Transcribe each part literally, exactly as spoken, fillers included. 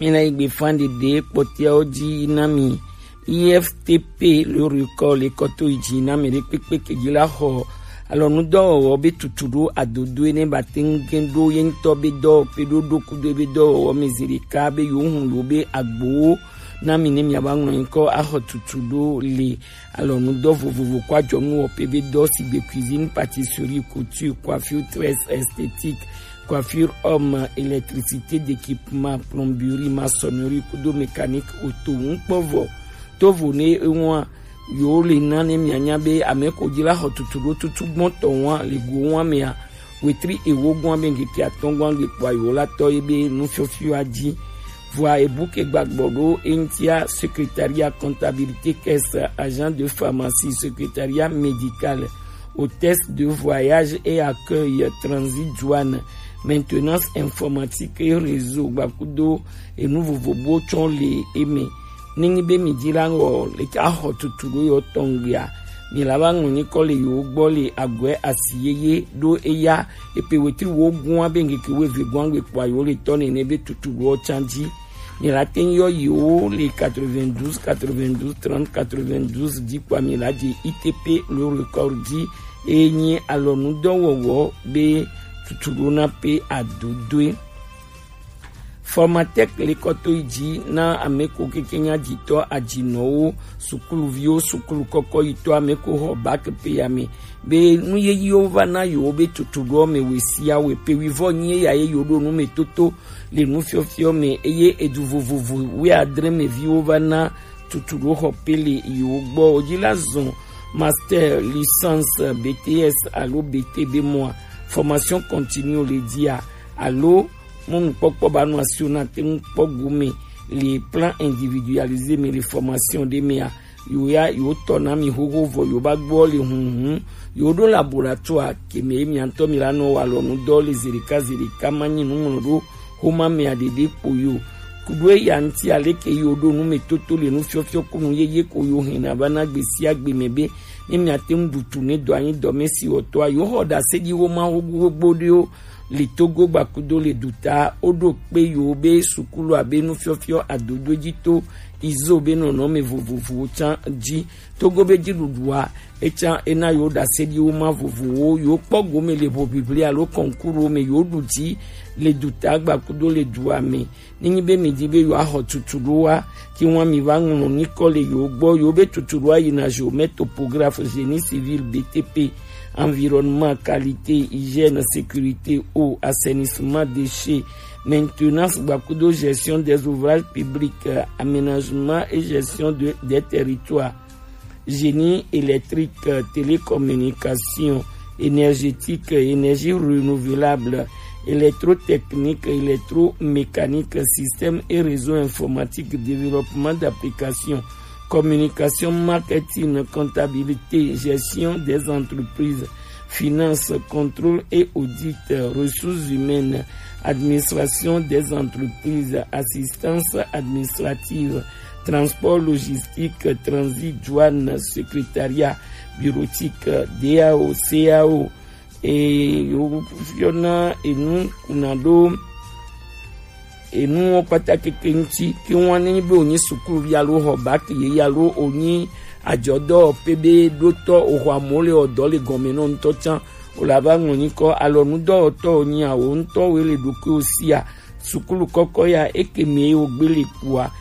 Mi na yi gbe fan ɖeɖe kpɔtɛawo ji na mi. I F T P le record le kɔto yi ji na mi ɖe kpekpe ke ji la xɔ alɔnudɔwɔwɔ be tutu ɖo adodo ene ba te ŋu gɛn ɖo ye ŋutɔ be dɔwɔƒe ɖo ɖo kudo be dɔwɔwɔ me zi ɖeka be yewo hun yewo be agbowo na mi ne miava ŋlɔ nyikɔ axɔ tutu ɖo le alɔnudɔ vovovo kɔ adzɔnuwɔƒe be dɔ sigbe cuisine, pâtisserie, couture, coiffure, tresse, esthétique, coiffure homme, électricité, d'équipement, plomberie, maçonnerie, kudo mécanique, auto, ŋkpɔvɔ. Tovo ne ewa, yo le na ne mianya be ame ko dzi la xɔ tutu ɖo tutu gbɔtɔ wa le go wa mea. Wetri ewo gɔn be ŋkeke atɔ̃ gɔn gbe kpɔa yewo la tɔ ye be nufiɔfiɔa dzi. Vɔa ebu ke gbagbɔ ɖo eŋtia secrétariat comptabilité, caisse, agent de pharmacie, secrétariat médical, hôtesse de voyage et accueil, transit, douane, maintenance informatique et réseau gbakudo enu vovovowo tsɔ le eme. Nenyi be mi dzi la ŋɔ le axɔ tutu ɖo yɔ tɔngbia, mi la va ŋlɔ nyikɔ le yewo gbɔ le agɔe asi yeye ɖo eya epe wetri wo gua be ŋkeke wo eve gua gbe kpɔa yewo le tɔ nene be tutu ɖo tsan dzi. Mi la te ŋ yɔ yewo le quatre-vingt-douze, quatre-vingt-douze, trente, quatre-vingt-douze dzi kpɔa mi la dze I T P le record dzi eye nyi alɔnudɔwɔwɔ be tutu ɖo na pe adodoe. Formatec le kɔto yi dzi na ame ko keke nya dzitɔ adzinɔwo, sukuluviwo, sukulu kɔkɔ yi tɔ ame ko xɔ bac pe ya me be nu yeyiwo va na yewo be tutu ɖo me we sia we pe wivɔ nyi ya ye yo ɖo nu me toto le nufiɔfiɔ me eye edu vovovo wi adre me viwo va na tutu ɖo xɔ pe le yewo gbɔ o dzi la zɔn master, licence, B T S alo B T be mɔa, formation continue le dzia alo mɔnukpɔkpɔ ba nɔ asi wo na te ŋu kpɔ gome le plan individualisé me le formation ɖe mea, yo ya yo tɔ na mi xoxo vɔ yo ba gbɔ le hunhun yo ɖo laboratoire ke me mi ŋutɔ mi la nɔ wa lɔnu dɔ le zeɖeka zeɖeka ma nyi nuŋlɔ ɖo xoma mea ɖeɖe kpo yo. Kuɖo eya ŋuti aleke yo ɖo nu me toto le nufiɔfiɔ kunu yeye ko yo hɛn na va na gbe sia gbe me be ne mia te ŋu ɖu tu ne dɔ anyi dɔ me si wɔtɔa yo xɔ ɖase ɖi wo ma wo gbogbo ɖewo le Togo gbakudo le duta, woɖo kpe yewo be sukulu abe nufiɔfiɔ adodo dzi to izo be nɔnɔme vovovowo tsã dzi. Togo be dziɖuɖua etsã ena yewo ɖase ɖi wo ma vovovowo, yewo kpɔ gome le hoʋiʋli alo kɔnkuru me, yewo ɖu dzi le duta gbakudo le dua me. Nenyi be mi di be yewoaxɔ tutu ɖo wa, ke ŋua mi va ŋlɔ nyikɔ le yewo gbɔ, yewo be tutu ɖoa yina géomètre, topographe, génie civil, B T P, environnement, qualité, hygiène, sécurité, eau, assainissement, déchets, maintenance, gbakudo gestion des ouvrages publics, euh, aménagement et gestion de, des territoires, génie électrique, euh, télécommunication, énergétique, euh, énergie renouvelable, électrotechnique, électromécanique, système et réseau informatique, développement d'applications, communication, marketing, comptabilité, gestion des entreprises, finance, contrôle et audit, ressources humaines, administration des entreprises, assistance administrative, transport logistique, transit, douane, secrétariat bureautique, D A O, C A O, et yo fiona enu kunado enuwo kpata keke ŋuti. Ke ŋua ne nyi be wònyi sukuluvi alo xɔ baki yeye alo wònyi adzɔdɔwɔƒe be ɖotɔ wòxɔ amewo le wɔ dɔ le gɔme nɔ ŋutɔ tsã, wòle ava ŋlɔ nyikɔ alɔnudɔwɔtɔ wònyi awo ŋutɔ wòe le ɖokuiwo sia. Sukulu kɔkɔ ya eke me wògbe le kpua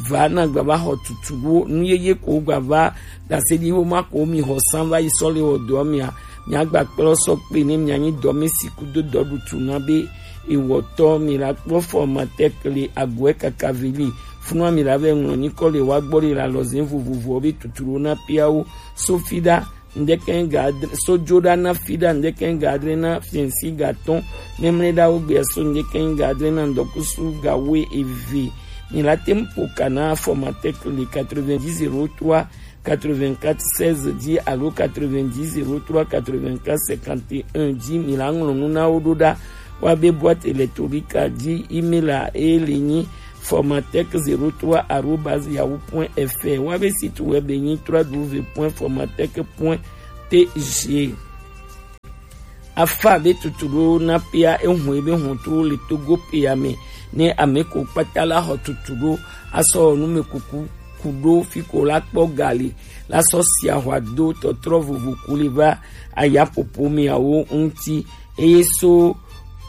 va na gba va xɔ tutu ɖo nu yeye ko gba va ɖase ɖi wo ma ko mi xɔ san va yi sɔ le wɔ dɔ mia. Miagba kplɔ sɔ kpe ne mianyi dɔmesi kudo dɔɖutu na be ewɔtɔ mi la kpɔ formateur le agoɛ kaka veli. Funua mi la vɛ ŋlɔ nyikɔ le wa gbɔ le la lɔzɛn vovovo be tuturo na piawo. Sofi ɖa ŋdɛkɛn ga adre, sojo ɖa na fi ɖa ŋdɛkɛn ga adre na fiɛnsi ga tɔn. Mɛmlɛ ɖa wo gbea so ŋdɛkɛn ga adre na ŋdɔkusu ga we eve. Mi la tem po kana formateur le quatre-vingt-dix zéro trois quatre-vingt-quatre seize dzi alo quatre-vingt-dix zéro trois quatre-vingt-quatre cinquante et un dzi. Mi la ŋlɔ nu na wo ɖo ɖa. Wa be boîte électronique dzi, email a e le nyi formatech zéro trois arobase yahoo point F R. Wa be site web e nyi trois W point formatech point T G. Afa be tuturo na pia ehun ebe hɔntro le Togo pia me. Ne ame ko kpata la xɔ tutu ɖo, asɔ numekuku ku ɖo fi ko la kpɔ ga le, la sɔ si ahwa do tɔtrɔ vovo ku le va ayaƒoƒo meawo ŋuti. Eye so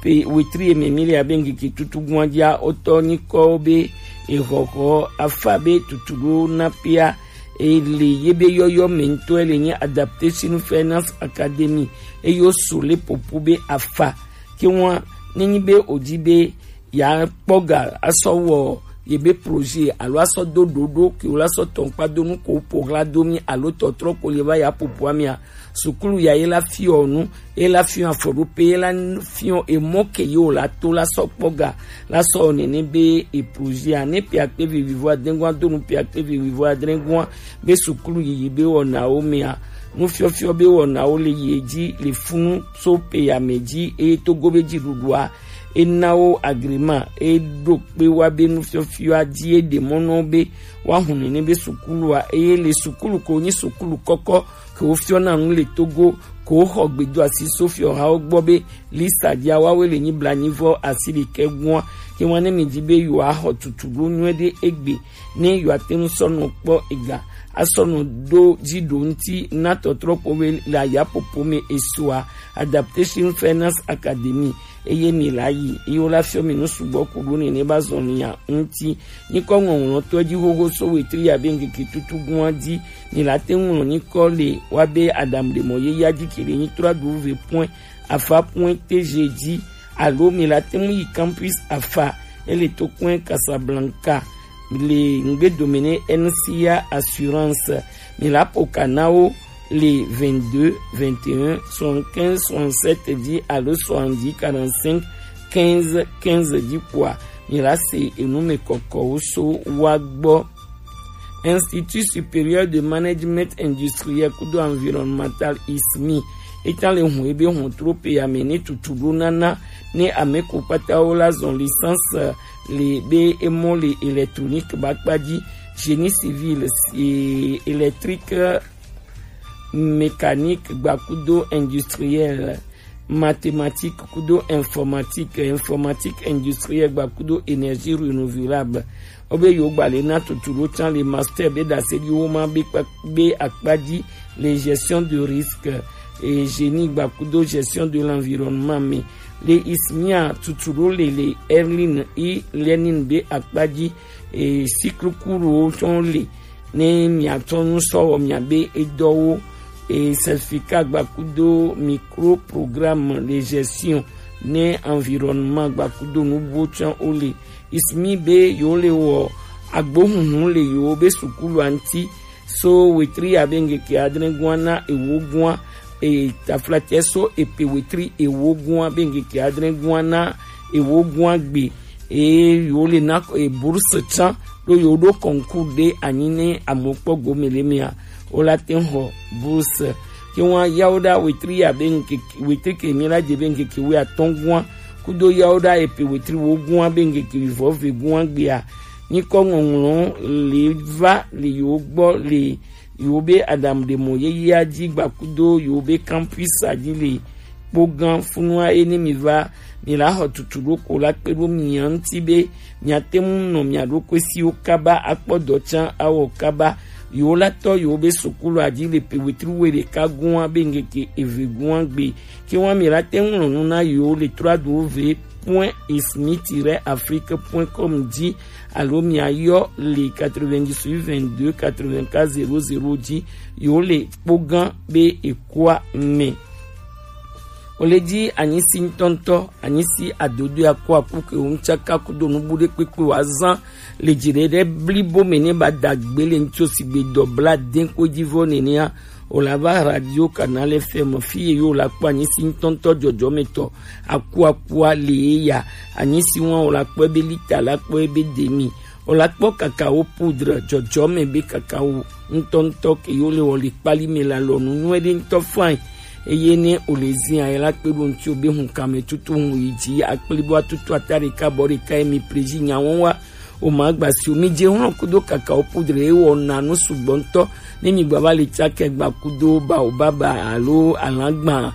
pe wetri eme mi le abe ŋkeke tutu gua dzia, wotɔ nyikɔwo be exɔxɔ afa be tutu ɖo na pia, e le ye be yɔyɔ me ŋutɔ le nye Adaptation Finance Academy, eye wo so le popo be afa. Ke ŋua, ne nyi be o di be ya kpɔ ga asɔ wɔ ye be projet alo asɔ do ɖoɖo ke wo la sɔ tɔn kpa do nu ko po hla do mi alo tɔtrɔ ko le va ya popo amia, sukulu ya ye la fiɔ nu, ye la fiɔ afɔɖope, ye la fiɔ emɔ ke ye wo la to la sɔ kpɔ ga la sɔ nene be e projet a ne pe akpe vivivo adengua do nu pe akpe vivivo adengua be sukulu yiyi be wɔnawo mea, nufiɔfiɔ be wɔnawo le yi edzi le funu so pe ya me dzi, eye togo be dziɖuɖua e na wo agrément, e ɖo kpe wa be nufiɔfiɔa dzi e ɖe mɔ na wo be woahu nene be sukulua, eye le sukulu ko nyi sukulu kɔkɔ ke wofiɔna nu le Togo, ke woxɔ gbedoasi so fiɔhawo gbɔ be lista dzia woawoe le nyi blanyivɔ asi ɖekɛ gua. Ke ŋua ne mi di be yewoaxɔ tutu ɖo nyuie ɖe egbe, ne yewoate ŋu sɔ nɔ kpɔ ega asɔ nɔ ɖo dzi ɖo ŋuti na tɔtrɔ ko be le ayapopo me esoa, Adaptation Finance Academy, eye mi la yi, eye wo la fiɔ mi nu sugbɔ ku ɖo nene ba zɔn ya ŋuti. Nyikɔ ŋɔŋlɔtɔ dzi xoxo so wetri ya be ŋkeke tutu gua dzi, mi la te ŋu ŋlɔ nyikɔ le wa be Adam ɖe mɔ ye ya dzi ke le nyi trois W point afa point T G dzi, alo mi la te ŋu yi campus afa, ele to kɔe Casablanca, le ŋgbe dome ne N C A Assurance. Mi la po ka na wo le vingt-deux, vingt et un, soixante-quinze, soixante-sept dzi alo soixante-dix, quarante-cinq, quinze, quinze dzi kpoa, mi la se enu me kɔkɔwo so wa gbɔ. Institut Supérieur de Management Industriel kudo Environnemental, I S M I, eta le hun ebe hun trope ya me ne tutu ɖo nana ne ame ko kpata wo la zɔn licence le be emɔ le électronique ba kpa dzi, génie civil, si-, électrique, mécanique gbakudo industriel, mathématique kudo informatique, informatique industriel gbakudo énergie renouvelable. Wo be yewo gba le na tutu ɖo can le master be ɖase ɖi wo ma be kpa-, be akpa dzi le gestion de risque, e, génie gbakudo gestion de l'environnement me. Le I S M I a tutu ɖo le le Erlin e learning be akpa dzi, e, cycle court wo tsɔ le ne miatsɔ nu sɔ wɔ miabe edɔwo, e, certificat gbakudo micro programme de gestion ne environnement gbakudo nubuwo tsã wo le. I S M I be yewo le wɔ agbohunhun le yewo be sukulu a ŋuti so wetri ya be ŋkeke adre gua na ewo gua, e, taflatɛ so epe wetri ewo gua be ŋkeke adre gua na ewo gua gbe. Eye yewo le na, e, bourse tsã ɖo yewo ɖo concours ɖe anyi ne amewo kpɔ gome le mea, wo la te ŋu xɔ bourse. Ke ŋua yawo ɖa wetri ya be ŋkeke, wetri ke mi la dze be ŋkeke wuiatɔ̃ gua kudo yawo ɖa epe wetri wo gua be ŋkeke wuievɔ ve gua gbea, nyikɔ ŋɔŋlɔ le va le yewo gbɔ le yewo be Adam ɖe mɔ yeyea dzi gbakudo yewo be campus a dzi le kpogã funua ye ne mi va, mi la xɔ tutu ɖo ko la kpe ɖo mia ŋuti be miate ŋu nɔ mia ɖokui siwo kaba akpɔ dɔ tsã awɔ kaba. Yewo la tɔ yewo be sukulu a dzi le pe wetri wuiɖeka gua be ŋkeke eve gua gbe. Ke ŋua mi la te ŋu ŋlɔ nu na yewo le trois W point ismi tiret afrique point com dzi alo mia yɔ le quatre-vingt-dix-huit vingt-deux quatre-vingt-quatre zéro zéro dzi. Yewo le kpogã be ekua me. Wo le dzi anyisi ŋutɔŋutɔ, anyisi adodo aku aku ke wo ŋtsaka kudo nubu ɖe kpekpe wa zan le dzi ɖe ɖe blibo me ne ba dagbe le ŋutso sigbe dɔ bla den ko dzi vɔ nenea. Wo la va Radio Canal F M fi ye yo la kpɔ anyisi ŋutɔŋutɔ dzɔdzɔmetɔ aku akua le ye ya. Anyisi ŋua wo la kpɔ ebe lita la kpɔ ebe demi. Wo la kpɔ kakao poudre dzɔdzɔme be kakao ŋutɔŋutɔ ke yo le wɔ le kpali me la lɔ nu nyuie ɖe ŋutɔ fine. Eye ne wo le zia ye la kpe ɖo ŋutsi wo be hun kame tutu hun yi dzi akpli bo atutu ata ɖeka bɔ ɖeka ye mi prezi nya wɔn wa. O ma gba si o mi dze hlɔn kudo kakao poudre ye wɔ na nu sugbɔ ŋutɔ. Ne mi gba va le tsakɛ gba kudo baobaba alo alagba